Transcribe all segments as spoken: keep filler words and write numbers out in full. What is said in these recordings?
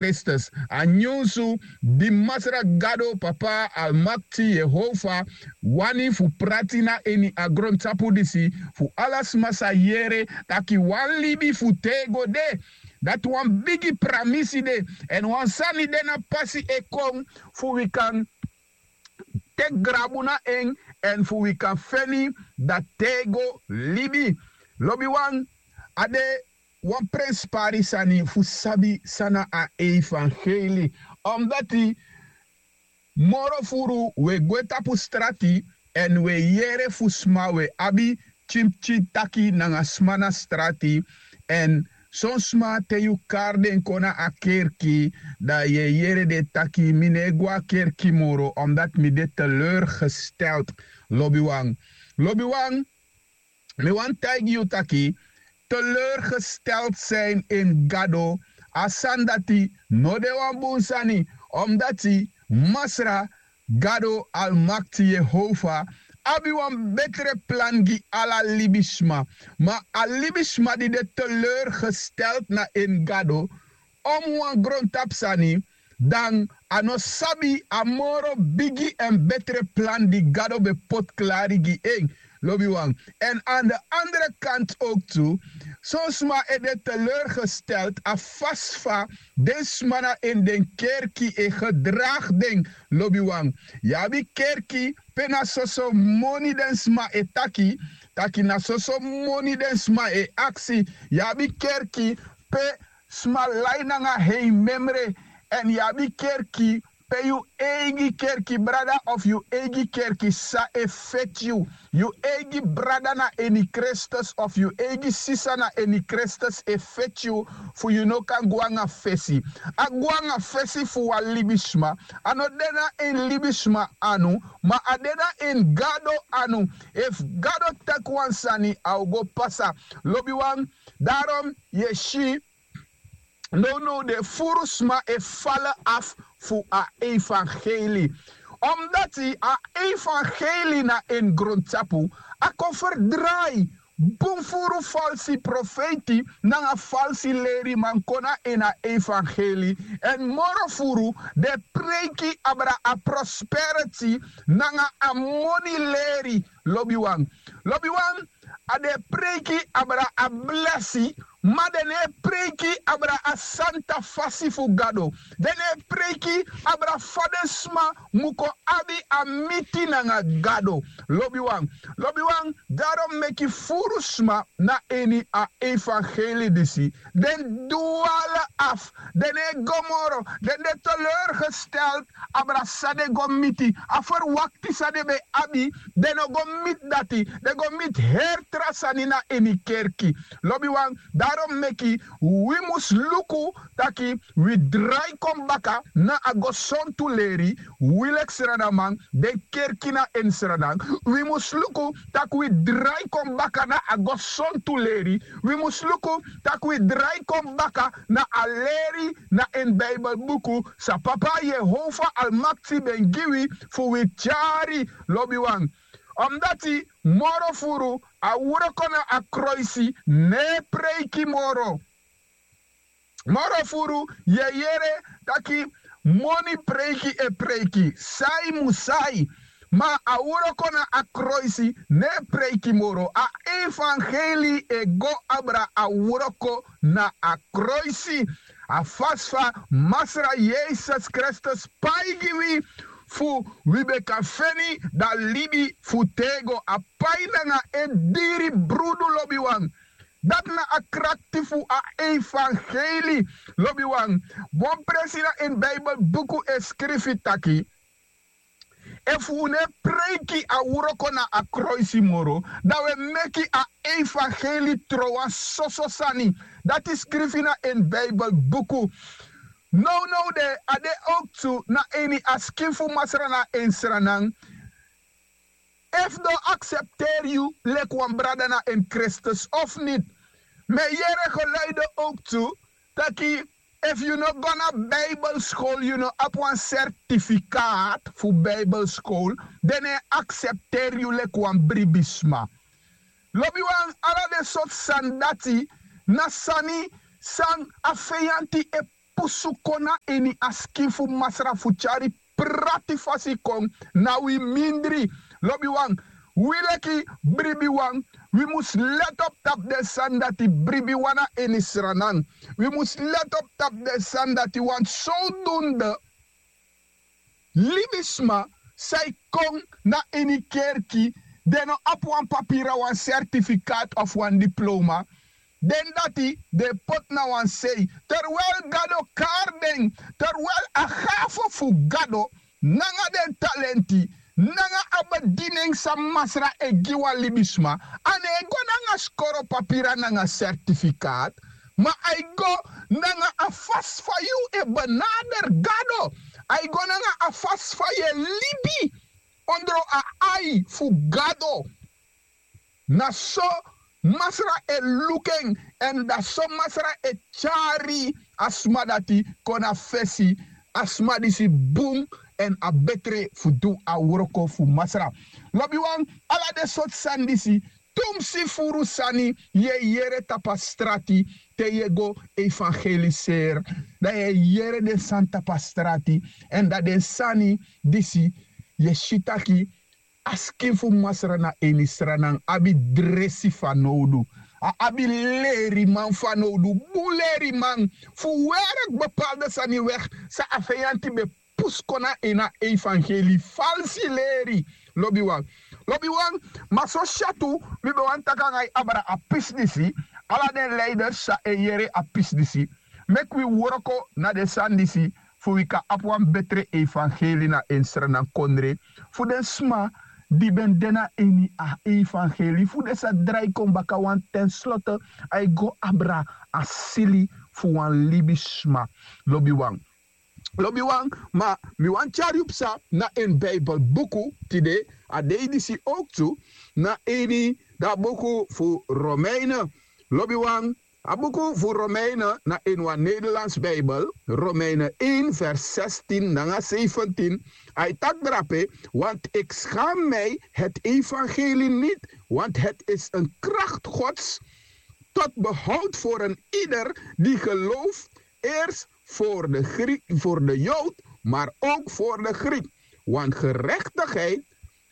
kristus. A nyunsu di Masra Gado, Papa Almakti Yehova, wani fu prati na ini a grontapu disi, fu ala sma sa yere taki wan libi fu tego de. Dati wan bigi pramisi de, èn wan sani de na pasi e kon fu wi kan teki grabu na en, èn fu wi kan feni dati tego libi. Lobiwan, a de wan prenspari sani fu sabi san na a evangelie. Omdati moro furu wi e gwe tapu strati èn wi e yere fu sma, wi e abi tyinpikin taki nanga sma na strati. Èn son sma, te yu kari den kon na a kerki, dan yu e yere den taki: "Mi no e go a kerki moro, omdati mi de teleurgesteld." Lobiwan, lobiwan, mi wani taigi yu taki teleurgesteld zijn in Gado, a sani dati no de wan bun sani. Omdati Masra Gado Almakti Yehova abi wan betre plan gi ala libisma. Ma a libisma di de teleurgesteld na en Gado, om wan grontapu sani, dan a no sabi a moro bigi èn betre plan di Gado ben poti klari gi en. Lobiwan. Èn aan de andere kant ook tu, son sma e de teleurgesteld a fasi fa den sma na ini den kerki e gedragi den. Lobiwan. Yu abi kerki pe na soso moni den sma e taki, taki na soso moni den sma e aksi. Yu abi kerki pe sma lai nanga heimemre. Èn yu abi kerki pe yu eigi kerki brada of yu eigi kerki sisa e feti yu. Yu eigi brada na ini Kristus of yu eigi sisa na ini Kristus e feti yu fu yu no kan go nanga fesi. A go nanga fesi fu wan libisma, a no de na ini libisma anu, ma a de na ini Gado anu. Efu Gado taki wan sani, a o go pasa. Lobiwan, daarom yu e si nownow de furu sma e fali afu fu a evangelie. Omdati a evangelie na ini grontapu, a kon ferdrai bun furu falsi profeiti nanga falsi leriman kon na ini a evangelie. Èn moro furu den e preiki abra a prosperity nanga a moni leri. Lobiwan, lobiwan, a den e preiki abra a blesi, ma den no e preiki abra a santa fasi fu Gado. Den no e preiki abra fa den sma mu kon abi a miti nanga Gado. Lobiwan, lobiwan, daarom meki furu sma na ini a evangelie disi den dwala afu. Den no e go moro, den de teleurgesteld abra san den go miti, a ferwakti san den ben abi, den no go miti dati, den go miti heri tra sani na ini kerki. Lobiwan, daarom meki wi mus luku taki wi drai kon baka na a gesontu leri, wi leki sranaman, den kerki na ini Sranan. Wi mus luku taki wi drai kon baka na a gesontu leri. Wi mus luku taki wi drai kon baka na a leri na ini Bijbelbuku san Papa Yehova Almakti ben gi wi fu wi tyari. Lobiwan, omdati moro furu a wroko na a kroisi no e preiki moro. Moro furu yu e yere taki moni preiki e preiki, sai mu sai. Ma a wroko na a kroisi no e preiki moro. A evangelie e go abra a wroko na a kroisi. A fasi fa Masra Yesus Kristus pai gi wi fu wi ben kan feni dan libi fu tego, a pai nanga en diri brudu. Lobiwan, dati na a krakti fu a evangelie. Lobiwan, wan presi na ini Bijbelbuku e skrifi taki efu un no e preiki a wroko na a kroisi moro, dan un e meki a evangelie tron wan soso sani. Dati skrifi na ini Bijbelbuku. Nownow de a de ook tu na ini a skin fu Masra na ini Sranan. Efu den o aksepteri yu leki wan brada na ini Kristus of niti. Mi e yere geluiden ook tu taki efu yu no go na Bijbelskol, yu no abi wan certificaat fu Bijbelskol, den no e aksepteri yu leki wan bribisma. Lobiwan, ala den sortu sani dati na sani san a feyanti e pusu kon na ini a skin fu Masra fu tyari prati fasi kon na wi mindri. Lobiwan, wi leki bribiwan, wi mus let op tapu den sani dati bribiwan na ini Sranan. Wi mus let op tapu den sani dati, want zodoende libisma san e kon na ini kerki, den no abi wan papira, wan certificaat of wan diploma. Den dati den e poti na wan sei, terwijl Gado kari den, terwijl a gafo fu Gado nanga den talenti nanga a bediening san Masra e gi wan libisma, a no e go nanga skoro papira nanga certificaat, ma a e go nanga a fasi fa yu e benader Gado. A e go nanga a fasi fa yu e libi ondro a ai fu Gado. Na so Masra e luku en, èn dati so Masra e tyari a sma dati kon na fesi. A sma disi bun èn a betre fu du a wroko fu Masra. Lobiwan, ala den sortu sani disi, tumsi furu sani yu e yere tapu a strati. Te yu e go evangeliseri, dan yu e yere den sani tapu a strati, èn dan den sani disi yu e si taki a skin fu Masra na ini Sranan abi dresi fanowdu. A abi leriman fanowdu, bun leriman fu werk bepaalde sani weg san a feyanti ben pusu kon na ini a evangeli, falsi leri. Lobiwan, lobiwan, ma so syatu mi ben wani taki nanga yu abra a pisi disi, ala den leiders san e yere a pisi disi, meki wi wroko na den sani disi, fu wi kan abi wan betre evangeli na ini Sranan kondre, fu den sma di ben de na ini a evangeli, fu den sa drai kon baka, want ten slotte a e go abra a sili fu wan libisma. Lobiwan, lobiwan, ma mi wani tyari yu psa na ini Bijbelbuku tide, a dei disi owktu, na ini da buku fu Romeinen. Lobiwan, a buku fu Romeinen na ini wan Nederlands Bijbel, Romeinen één vers zestien nanga zeventien. A e taki drape: Want ik schaam mij het evangelie niet, want het is een kracht Gods tot behoud voor een ieder die gelooft, eerst voor de Griek, voor de Jood, maar ook voor de Griek. Want gerechtigheid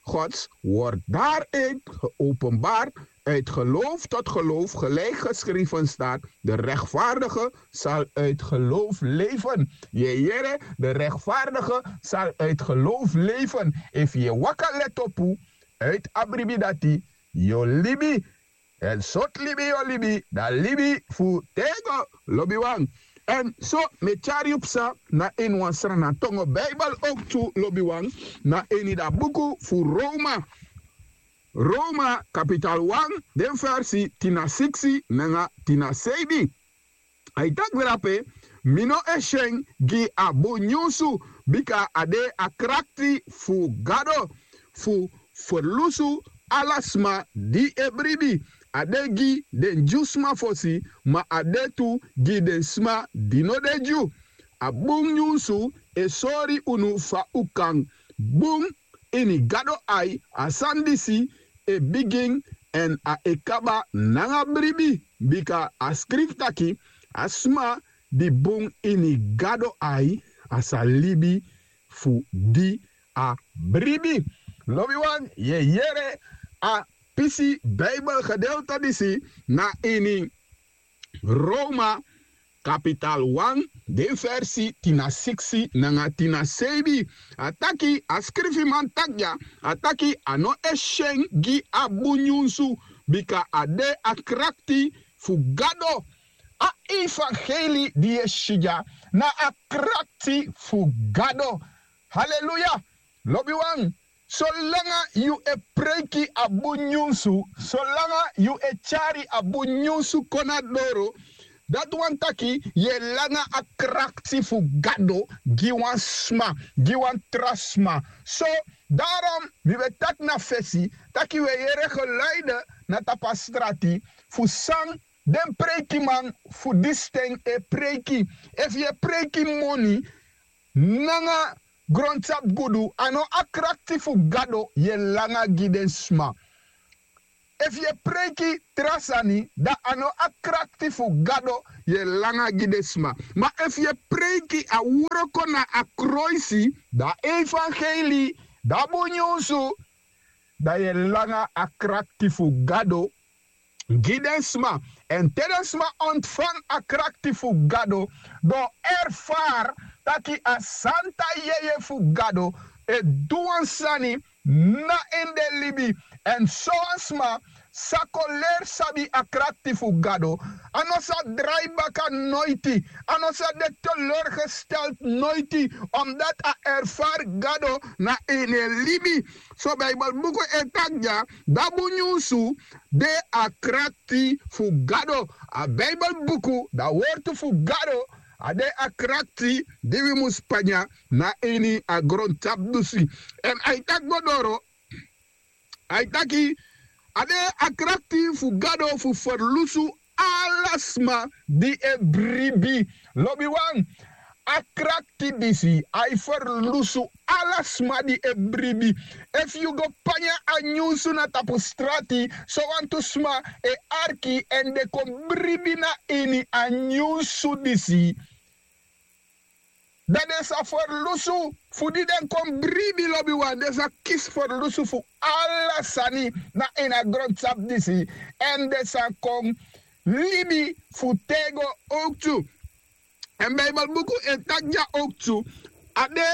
Gods wordt daaruit geopenbaard, uit geloof tot geloof, gelijk geschreven staat: De rechtvaardige zal uit geloof leven. Yu e yere, de rechtvaardige zal uit geloof leven. Efu yu e waka leti opu, uit a bribi dati yu o libi. Èn sortu libi yu o libi, dan libi fu tego, lobiwan. Èn so mi e tyari yu psa na ini wan Sranan tongo Bijbel owktu, lobiwan, na ini da buku fu Roma. Roma kapital wan, den versi tin na siksi nanga tin na seibi. A e taki drape: Mi no e syen gi a bun nyunsu, bika a de a krakti fu Gado fu ferlusu ala sma di e bribi. A de gi den Dyusma fosi, ma a de tu gi den sma di no de Dyu. A bun nyunsu e sori unu fa un kan bun ini Gado ai. A sani disi e bigin èn a e kaba nanga bribi, bika a skrifi taki: A sma di bun ini Gado ai, a sa libi fu di a bribi. Lobiwan, yu e yere a pisi Bijbelgedeelte disi na ini Roma kapital wan, den versi tin na siksi nanga tin na seibi. A taki, a skrifiman taki dya, a taki: A no e syen gi a bun nyunsu, bika a de a krakti fu Gado. A evangeli di yu e si dya na a krakti fu Gado. Haleluya! Lobiwan, solanga yu e preiki a bun nyunsu, solanga yu e tyari a bun nyunsu kon na doro, dati wani taki yu e langa a krakti fu Gado gi wan sma, gi wan tra sma. So, daarom mi ben taki na fesi taki wi e yere geluide na tapu a strati fu san den preikiman fu disi ten e preiki. Efu yu e preiki moni nanga grontapu gudu, a no a krakti fu Gado yu e langa gi den sma. Efu yu e preiki tra sani, dan a no a krakti fu Gado yu e langa gi den sma. Ma efu yu e preiki a wroko na a kroisi, dan a evangelie, dan a bun nyunsu, dan yu e langa a krakti fu Gado gi den sma. Èn te den sma ontfang a krakti fu Gado, dan o erfari taki a santa yeye fu Gado e du wan sani na ini den libi. Èn sowan sma sa kon leri sabi a krakti fu Gado, a no sa drai baka noiti, a no sa de teleurgesteld noiti, omdat a erfari Gado na ini en libi. So Bijbelbuku e taki dya, dan a bun nyunsu de a krakti fu Gado. A Bijbelbuku, dan a wortu fu Gado, a de a krakti di wi mus panya na ini a grontapu disi. Èn a e taki go doro, a e taki, a de a krakti fu Gado fu ferlusu ala sma di e bribi. Lobiwan, a krakti disi a e ferlusu ala sma di e bribi. Efu yu go panya a nyunsu na tapu strati, sowantu sma e arki èn den kon bribi na ini a nyunsu disi. Dan den sa ferlusu fu di den kon bribi, lobiwan, den sa kisi ferlusu fu ala sani na ini a grontapu disi. Èn den sa kon libi fu tego owktu. Èn Bijbelbuku e taki dya owktu, a de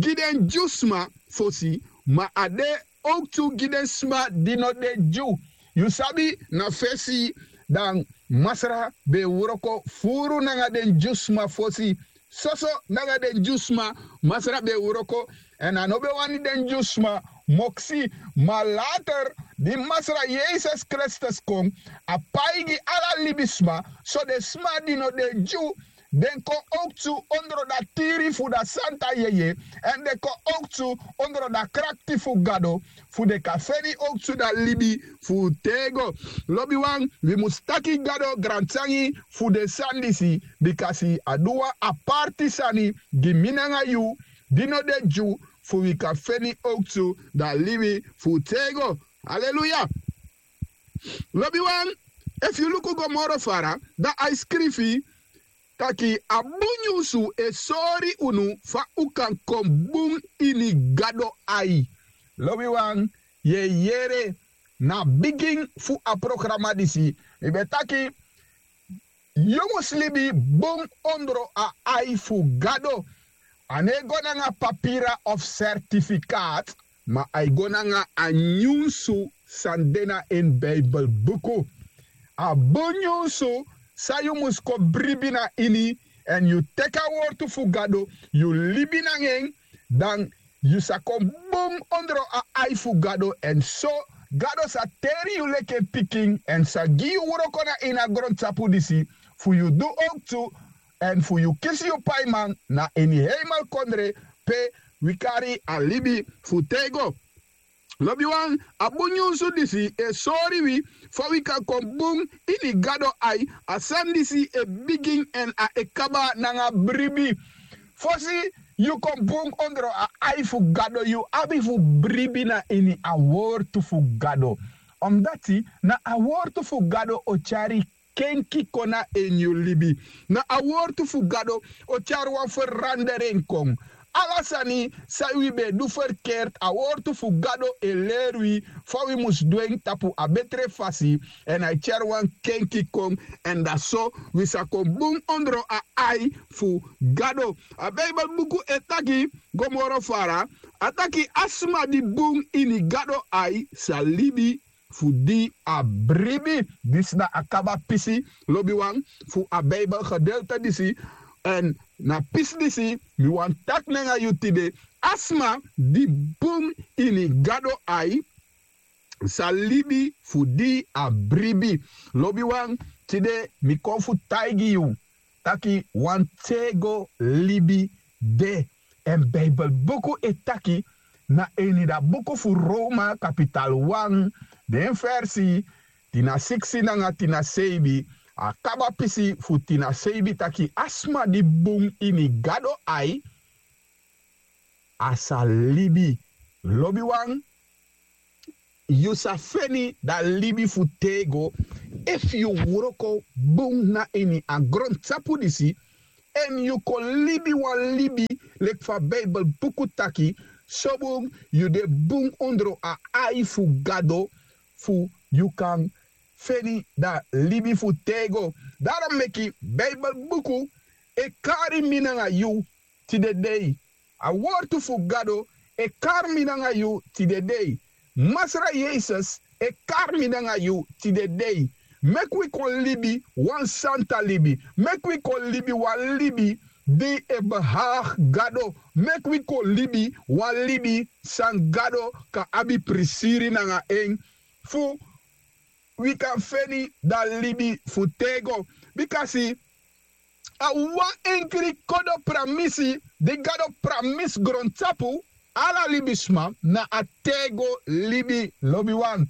gi den Dyusma fosi, ma a de owktu gi den sma di no de Dyu. Yu sabi, na fesi dan Masra ben e wroko furu nanga den Dyusma fosi. Soso nanga den Dyusma Masra ben e wroko, èn a no ben wani den Dyusma moksi. Ma later, di Masra Yesus Kristus kon, a pai gi ala libisma, so den sma di no de Dyu, den kon owktu ondro dati tiri fu dati santa yeye, èn den kon owktu ondro dati krakti fu Gado, fu den kan feni owktu dati libi fu tego. Lobiwan, wi mus taki Gado grantangi fu den sani disi, bikasi a du wan aparti sani gi mi nanga yu, di no de Dyu, fu wi kan feni owktu dati libi fu tego. Aleluya. Lobiwan, efu yu luku go moro fara, dan a e skrifi taki a bun nyunsu e sori unu fa un kan kon bun ini Gado ai. Lobiwan, yu e yere, na bigin fu a programa disi mi ben taki yu mus libi bun ondro a ai fu Gado. A no e go nanga papira of sertifikat, ma a e go nanga a nyunsu san de na ini Bijbelbuku. A bun nyunsu san yu mus kon bribi na ini, èn yu teki a wortu fu Gado, yu libi nanga en, dan yu sa kon bun ondro a ai fu Gado, èn so Gado sa teri yu leki en pikin, èn sa gi yu wroko na ini a grontapu disi, fu yu du owktu, èn fu yu kisi yu paiman na ini heimelkondre, pe wi kari a libi fu tego. Lobiwan, a bun nyunsu disi e sori wi fa wi kan kon bun ini Gado ai. A sani disi e bigin èn a e kaba nanga bribi. Fosi yu kon bun ondro a ai fu Gado, yu abi fu bribi na ini a wortu fu Gado. Omdati na a wortu fu Gado o tyari kenki kon na ini yu libi. Na a wortu fu Gado o tyari wan feranderen kon. Ala sani san wi ben e du ferkerti, a wortu fu Gado e leri wi fa wi mus du en tapu a betre fasi, èn a e tyari wan kenki kon, èn dan so wi sa kon bun ondro a ai fu Gado. A Bijbelbuku e taki go moro fara, a taki a sma di bun ini Gado ai sa libi fu di a bribi. Disi na a kaba pisi, lobiwan, fu a Bijbelgedeelte disi. Èn na pisi disi mi wani taki nanga yu tide. A sma di bun ini Gado ai sa libi fu di a bribi. Lobiwan, tide mi kon fu taigi yu taki wan tego libi de. Èn Bijbelbuku e taki na ini da buku fu Roma kapital wan, den versi tin na siksi nanga tin na seibi, a kaba pisi fu tin na seibi, taki a sma di bun ini Gado ai, a sa libi. Lobiwan, yu sa feni dan libi fu tego efu yu wroko bun na ini a grontapu disi, èn yu kon libi wan libi leki fa Beibel buku taki, sobun yu de bun ondro a ai fu Gado, fu yu kan feni dan libi fu tego. Dati meki Beibel buku e kari mi nanga yu tide dei. A wortu fu Gado e kari mi nanga yu tide dei. Masra Yesus e kari mi nanga yu tide dei. Meki wi kon libi wan santa libi. Meki wi kon libi wan libi di e behaag Gado. Meki wi kon libi wan libi san Gado kan abi prisiri nanga en, fu wi kan feni dan libi fu tego. Bikasi a wan enkri kodo pramisi di Gado pramisi grontapu ala libisma na a tego libi, lobiwan.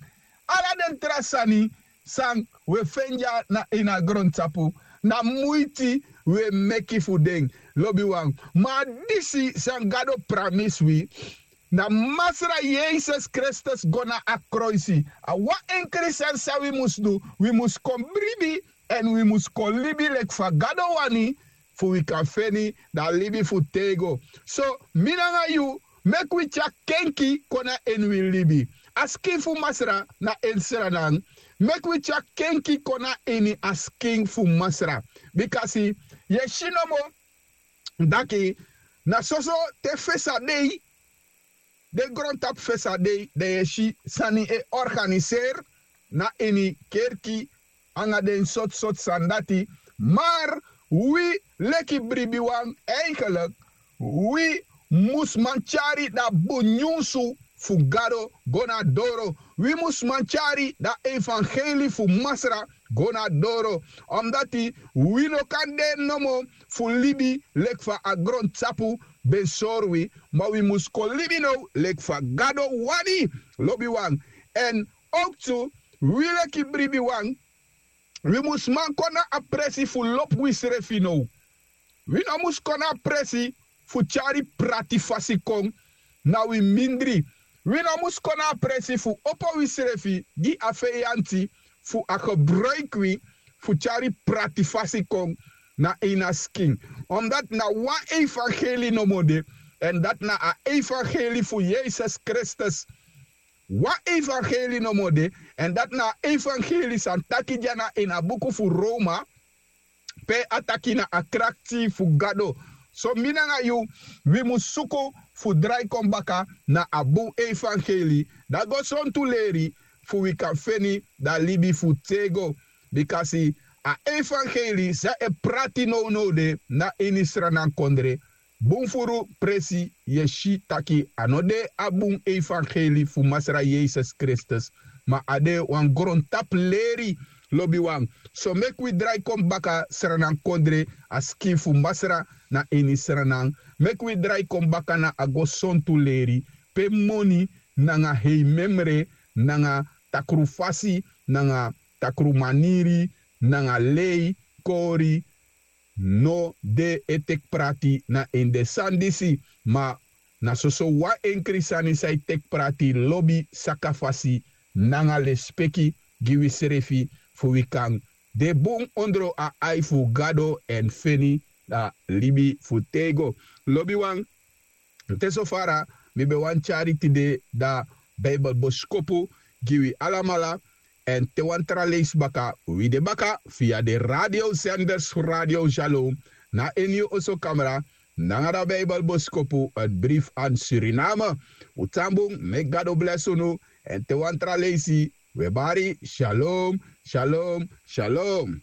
Ala den tra sani san wi e feni dya na ini a grontapu, na muiti wi e meki fu den, lobiwan. Ma a disi san Gado pramisi wi, na Masra Yesus Kristus go na a kroisi. A wan enkri sani san wi mus du, wi mus kon bribi, èn wi mus kon libi leki fa Gado wani, fu wi kan feni dan libi fu tego. So, mi nanga yu, meki wi tyari kenki kon na ini wi libi. A skin fu Masra na ini sranan. Meki wi tyari kenki kon na ini a skin fu Masra. Bikasi yu e si nomo taki na soso te fesa dei, den grontapu fesa dei, dan yu e si sani e organiseri na ini kerki anga den sortu sortu sani dati. Mar wi leki bribiwan, eigenlik wi mus man tyari dan bun nyunsu fu Gado go na doro. Wi mus man tyari dan evangeli fu Masra go na doro. Omdati wi no kan de nomo fu libi leki fa a grontapu ben sori wi, ma wi mus kon libi now leki fa Gado wani, lobiwan. Èn owktu wi leki bribiwan, wi mus man kon na a presi fu lobi wisrefi now. Wi no mus kon na a presi fu tyari prati fasi kon na wi mindri. Wi no mus kon na a presi fu opo wisrefi gi a feyanti fu a gebruiki wi fu tyari prati fasi kon na ini a skin. Omdati na wan evangeli nomo de, èn dati na a evangeli fu Yesus Kristus. Wan evangeli nomo de, èn dati na a evangeli san taki dya na ini a buku fu Roma, pe a taki na a krakti fu Gado. So mi nanga yu, wi mus suku fu drai kon baka na a bun evangeli, dan go sontu leri, fu wi kan feni dan libi fu tego. Bikasi a evangeli san e prati nownow de na ini sranankondre, bun furu presi yu e si taki a no de a bun evangeli fu Masra Yesus Kristus, ma a de wan grontapu leri, lobiwan. So meki wi drai kon baka sranankondre, a skin fu Masra na ini sranan. Meki wi drai kon baka na a go sontu leri, pe moni nanga heimemre nanga takru fasi nanga takru maniri nanga lei kori no de e teki prati na ini den sani disi, ma na soso wan enkri sani san e teki prati, lobi, sakafasi nanga lespeki gi wisrefi, fu wi kan de bun ondro a ai fu Gado èn feni a libi fu tego. Lobiwan, te so fara mi ben wani tyari tide dan Bijbelboskopu gi wi alamala. Èn te wan tra leisi baka, wi de baka via den radiosenders fu Radio Shalom na ini yu oso kamra nanga dan Bijbelboskopu, het brief aan Suriname. Un tan bun, meki Gado blesi unu. Èn te wan tra leisi, wi e bari, shalom, shalom, shalom.